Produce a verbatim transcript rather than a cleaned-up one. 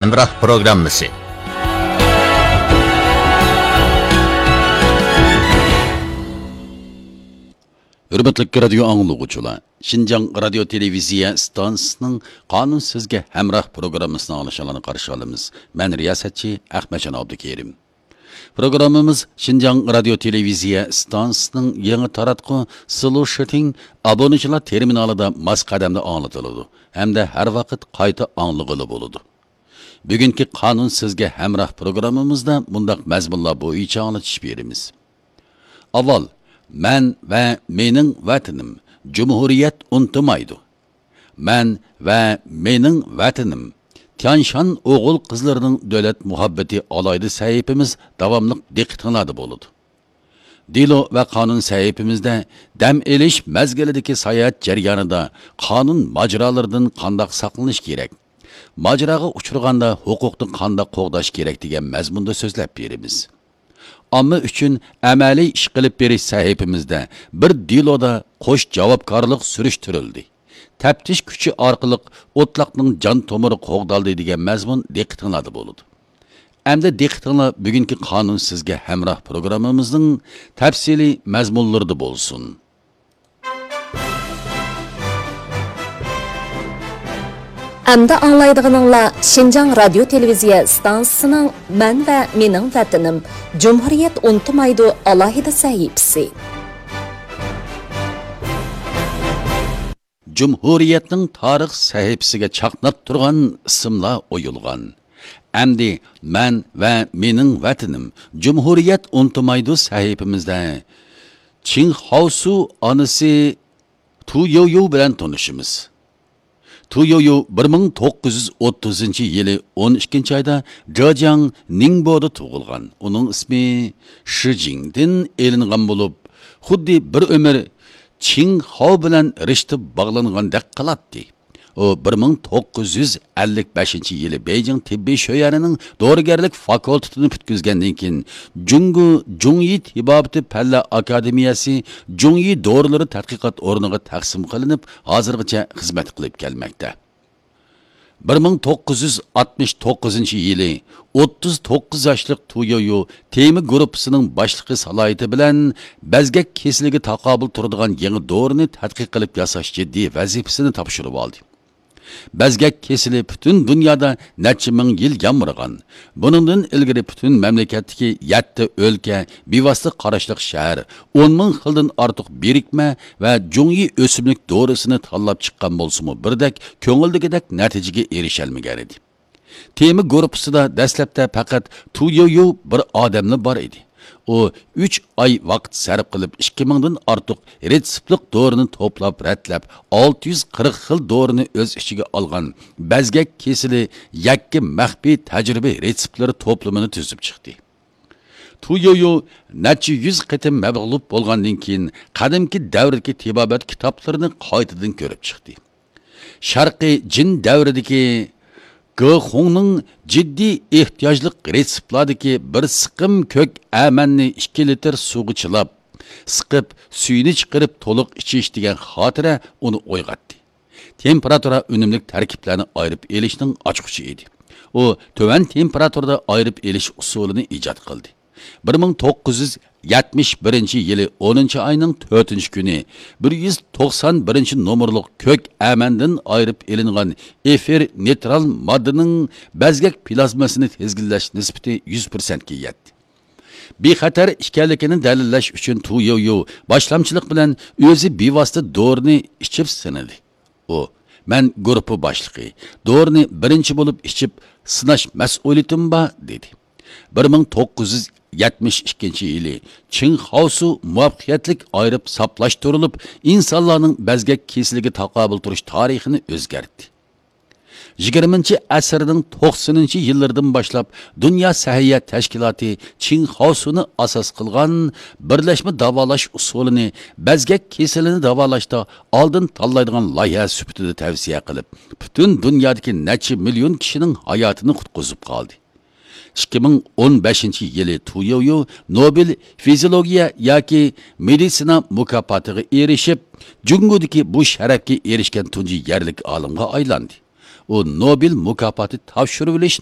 ھەمراھ پروگراممىسى. ھۆرمەتلىك رادىيو ئاڭلىغۇچىلار، شىنجاڭ رادىيو تېلېۋىزىيە ئىستانسىسىنىڭ قانۇن سىزگە ھەمراھ پروگراممىسىنى ئاڭلىشىڭلارنى قارشى ئالىمىز. مەن رىياسەتچى ئەخمەتجان ئابدۇكېرىم. پروگراممىمىز شىنجاڭ رادىيو تېلېۋىزىيە ئىستانسىسىنىڭ يېڭى تاراتقۇ سلۇشىتىڭ ئابۇنىچىلار تېرمىنالىدا ماس قەدەمدە ئاڭلىتىلىدۇ ھەمدە ھەر ۋاقىت قايتا ئاڭلىغىلى بولىدۇ. بۈگۈنكى قانۇن سىزگە ھەمراھ پروگراممىمىزدا مۇنداق مەزمۇنلار بويىچە ئاڭلىتىش بېرىمىز. ئاۋۋال، مەن ۋە مېنىڭ ۋەتىنىم، جۇمھۇرىيەت ئۇنتۇمايدۇ. مەن ۋە مېنىڭ ۋەتىنىم، تيانشان ئوغۇل-قىزلىرىنىڭ دۆلەت مۇھەببىتى ئالاھىدە سەھىپىمىز داۋاملىق دىققىتىڭلاردا بولىدۇ. دېلو ۋە قانۇن سەھىپىمىزدە دەم ئېلىش مەزگىلىدىكى ساياھەت جەريانىدا قانۇن ماجىرالىرىدىن قانداق ساقلىنىش كېرەك؟ ماجىراغا ئۇچرىغاندا ھوقۇقنى قانداق قوغداش كېرەك دېگەن مەزمۇندا سۆزلەپ بېرىمىز. ئامما ئۈچۈن ئەمەلىي ئىش قىلىپ بېرىش سەھىپىمىزدە بىر دېلودا قوش جاۋابكارلىق سۈرۈشتۈرۈلدى. تەپتىش كۈچى ئارقىلىق ئوتلاقنىڭ جان تومۇرى قوغدالدى دېگەن مەزمۇن دىققىتىڭلاردا بولىدۇ. ئەمدى دىققىتىڭلار بۈگۈنكى قانۇن سىزگە ھەمراھ پروگراممىمىزنىڭ تەپسىلىي مەزمۇنلىرىدا بولسۇن. ئەمدى ئاڭلايدىغىنىڭلار شىنجاڭ رادىيو تېلېۋىزىيە ئىستانسىسىنىڭ مەن ۋە مېنىڭ ۋەتىنىم، جۇمھۇرىيەت ئۇنتۇمايدۇ ئالاھىدە سەھىپىسى. جۇمھۇرىيەتنىڭ تارىخ سەھىپىسىگە چاقناپ تۇرغان ئىسىملار ئويۇلغان. ئەمدى مەن ۋە مېنىڭ ۋەتىنىم، جۇمھۇرىيەت ئۇنتۇمايدۇ سەھىپىمىزدە چىڭ خاۋسۇ ئانىسى تۇ يويۇ بىلەن تونۇشىمىز. تۇ يويۇ بىر مىڭ توققۇز يۈز ئوتتۇزىنچى يىلى ئون ئىككىنچى ئايدا جېجياڭ نىڭبودا تۇغۇلغان. ئۇنىڭ ئىسمى شىجىڭدىن ئېلىنغان بولۇپ، خۇددى بىر ئۆمۈر چىڭ خاۋ بىلەن رىشتە باغلانغاندەك قىلاتتى. ئۇ بىر مىڭ توققۇز يۈز ئەللىك بەشىنچى يىلى بېيجىڭ تېببىي شۆيۈەنىنىڭ دورىگەرلىك فاكۇلتېتىنى پۈتكۈزگەندىن كېيىن، جۇڭگو جۇڭيى تېبابىتى پەنلەر ئاكادېمىيەسى جۇڭيى دورىلىرى تەتقىقات ئورنىغا تەقسىم قىلىنىپ، ھازىرغىچە خىزمەت قىلىپ كەلمەكتە. بىر مىڭ توققۇز يۈز ئاتمىش توققۇزىنچى يىلى ئوتتۇز توققۇز ياشلىق تۇ يويۇ تېمى گۇرۇپپىسىنىڭ باشلىقى سالاھىيىتى بىلەن بەزگەك كېسىلىگە تاقابىل تۇرىدىغان يېڭى دورىنى تەتقىق قىلىپ ياساش جىددىي ۋەزىپىسىنى تاپشۇرۇۋالدى. بەزگەك كېسىلى پۈتۈن دۇنيادا نەچچە مىڭ يىل يامرىغان. بۇنىڭدىن ئىلگىرى پۈتۈن مەملىكەتتىكى يەتتە ئۆلكە بىۋاسىتە قاراشلىق شەھەر ئون مىڭ خىلدىن ئارتۇق بىرىكمە ۋە جۇڭيى ئۆسۈملۈك دورىسىنى تاللاپ چىققان بولسىمۇ، بىردەك كۆڭۈلدىكىدەك نەتىجىگە ئېرىشەلمىگەنىدى. تېما گۇرۇپپىسىدا دەسلەپتە پەقەت تۇ يويۇ بىر ئادەملا بار ئىدى. ئۇ ئۈچ ئاي ۋاقىت سەرپ قىلىپ، ئىككى مىڭدىن ئارتۇق رېتسېپلىق دورىنى توپلاپ، رەتلەپ، ئالتە يۈز قىرىق خىل دورىنى ئۆز ئىچىگە ئالغان بەزگەك كېسىلى يەككە مەخپىي تەجرىبە رېتسېپلىرى توپلىمىنى تۈزۈپ چىقتى. تۇ يويۇ نەچچە يۈز قېتىم مەغلۇپ بولغاندىن كېيىن، قەدىمكى دەۋردىكى تېبابەت كىتابلىرىنى قايتىدىن كۆرۈپ چىقتى. شەرقىي جىن دەۋرىدىكى گېخۇڭنىڭ جىددىي ئېھتىياجلىق رېتسېپلاردىكى بىر سىقىم كۆك ئەمەننى ئىككى لىتىر سۇغا چىلاپ، سىقىپ، سۈيىنى چىقىرىپ تولۇق ئىچىش دېگەن خاتىرە ئۇنى ئويغاتتى. تېمپېراتۇرا ئۈنۈملۈك تەركىبلەرنى ئايرىپ ئېلىشنىڭ ئاچقۇچى ئىدى. ئۇ تۆۋەن تېمپېراتۇرىدا ئايرىپ ئېلىش ئۇسۇلىنى ئىجاد قىلدى. بىر مىڭ توققۇز يۈز يەتمىش بىرىنچى يىلى ئونىنچى ئاينىڭ تۆتىنچى كۈنى بىر يۈز توقسان بىرىنچى نومۇرلۇق كۆك ئەمەندىن ئايرىپ ئېلىنغان ئېفىر نېيترال ماددىنىڭ بەزگەك پلازمىسىنى تىزگىنلەش نىسبىتى يۈز پىرسەنتكە يەتتى. بىخەتەر ئىكەنلىكىنى دەلىللەش ئۈچۈن تۇ يويۇ باشلامچىلىق بىلەن ئۆزى بىۋاسىتە دورىنى ئىچىپ سىنىدى. ئۇ، «مەن گۇرۇپپا باشلىقى، دورىنى بىرىنچى بولۇپ ئىچىپ سىناش مەسئۇلىيىتىم بار» دېدى. بىر مىڭ توققۇز يۈز يەتمىش ئىككىنچى يىلى چىڭ خاۋسۇ مۇۋەپپەقىيەتلىك ئايرىپ ساپلاشتۇرۇلۇپ، ئىنسانلارنىڭ بەزگەك كېسىلىگە تاقابىل تۇرۇش تارىخىنى ئۆزگەرتتى. يىگىرمىنچى ئەسىرنىڭ توقسىنىنچى يىللىرىدىن باشلاپ دۇنيا سەھىيە تەشكىلاتى چىڭ خاۋسۇنى ئاساس قىلغان بىرلەشمە داۋالاش ئۇسۇلىنى بەزگەك كېسىلىنى داۋالاشتا ئالدىن تاللايدىغان لايىھە سۈپىتىدە تەۋسىيە قىلىپ، پۈتۈن دۇنيادىكى نەچچە مىليون كىشىنىڭ ھاياتىنى قۇتقۇزۇپ قالدى. ئىككى مىڭ ئون بەشىنچى يىلى تۇ يويۇ نوبېل فىزىولوگىيە ياكى مېدىتسىنا مۇكاپاتىغا ئېرىشىپ، جۇڭگودىكى بۇ شەرەپكە ئېرىشكەن تۇنجى يەرلىك ئالىمغا ئايلاندى. ئۇ نوبېل مۇكاپاتى تاپشۇرۇۋېلىش